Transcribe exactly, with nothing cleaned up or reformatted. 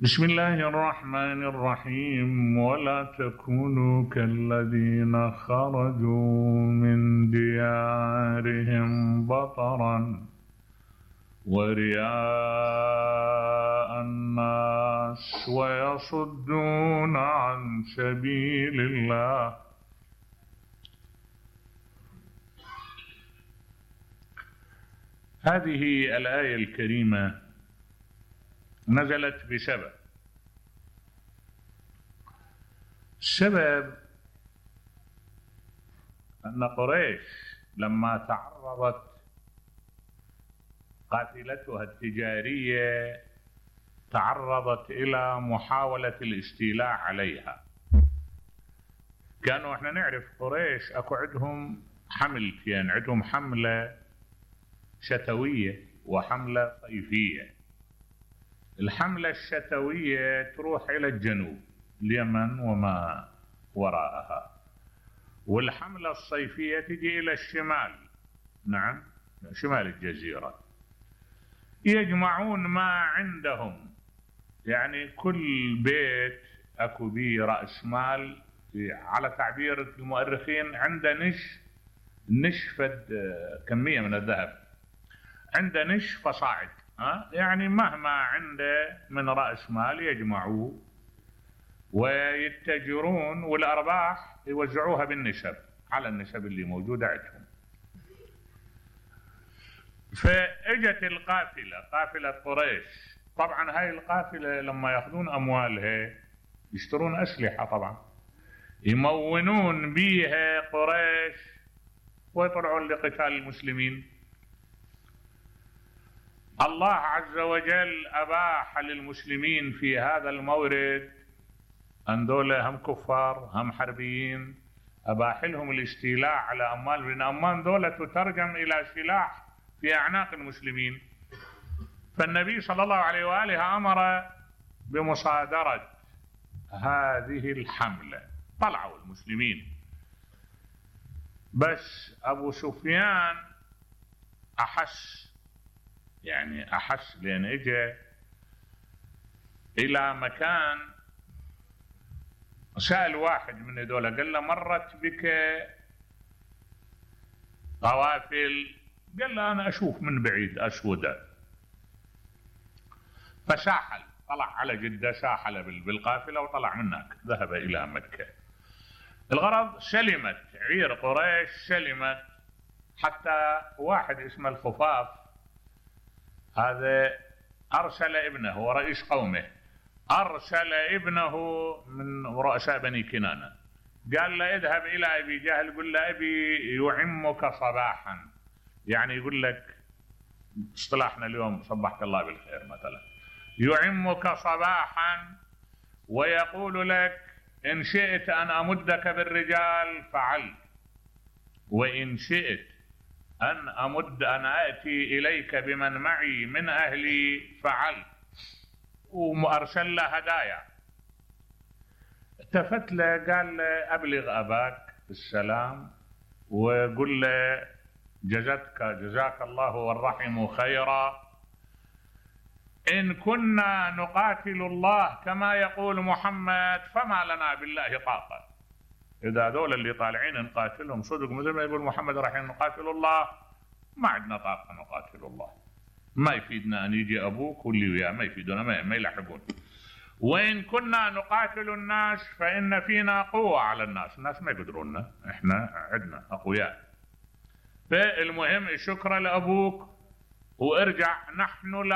بسم الله الرحمن الرحيم. ولا تكونوا كالذين خرجوا من ديارهم بطرا ورئاء الناس ويصدون عن سبيل الله. هذه الآية الكريمة نزلت بسبب السبب أن قريش لما تعرضت قافلتها التجارية تعرضت إلى محاولة الاستيلاء عليها. كانوا احنا نعرف قريش اكو عندهم حملتين، عندهم حملة شتوية وحملة صيفية. الحملة الشتوية تروح إلى الجنوب، اليمن وما وراءها، والحملة الصيفية تجي إلى الشمال، نعم شمال الجزيرة. يجمعون ما عندهم، يعني كل بيت أكو بيه رأس مال، على تعبير المؤرخين عنده نش نش فد كمية من الذهب، عنده نش فصاعد، ها يعني مهما عنده من رأس مال يجمعوه ويتجرون، والأرباح يوزعوها بالنسب على النسب اللي موجودة عندهم. فاجت القافلة، قافلة قريش. طبعا هاي القافلة لما ياخذون أموالها يشترون أسلحة، طبعا يمونون بيها قريش ويطلعون لقتال المسلمين. الله عز وجل أباح للمسلمين في هذا المورد أن دولة هم كفار هم حربيين، أباح لهم الاستيلاء على أموال، لأن أموال دولة تترجم إلى سلاح في أعناق المسلمين. فالنبي صلى الله عليه وآله أمر بمصادرة هذه الحملة. طلعوا المسلمين، بس أبو سفيان أحس، يعني أحس لأن إجا إلى مكان، سأل واحد من هذول قال له مرت بك قوافل؟ قال له أنا أشوف من بعيد أسودة. فساحل، طلع على جدة، ساحل بالقافلة وطلع منك، ذهب إلى مكة. الغرض سلمت عير قريش، سلمت، حتى واحد اسمه الخفاف هذا أرسل ابنه، هو رئيس قومه، أرسل ابنه من رؤساء بني كنانة، قال له اذهب إلى أبي جهل قل له أبي يعمك صباحا، يعني يقول لك اصطلاحنا اليوم صبحك الله بالخير مثلا، يعمك صباحا ويقول لك إن شئت أن أمدك بالرجال فعلت، وإن شئت أن أمد أن أأتي إليك بمن معي من أهلي فعلت، وأرسل له هدايا. التفت له قال له أبلغ أباك السلام وقل له جزتك جزاك الله والرحم خيرا، إن كنا نقاتل الله كما يقول محمد فما لنا بالله طاقة. إذا دول اللي طالعين نقاتلهم صدق مثل ما يقول محمد رايحين نقاتل الله، ما عندنا طاقة نقاتل الله، ما يفيدنا أن يجي أبوك واللي وياه، ما يفيدنا، ما, ما يلحقون. وإن كنا نقاتل الناس فإن فينا قوة على الناس، الناس ما يقدروننا، إحنا عندنا أقوياء. فالمهم شكرا لأبوك وارجع، نحن لا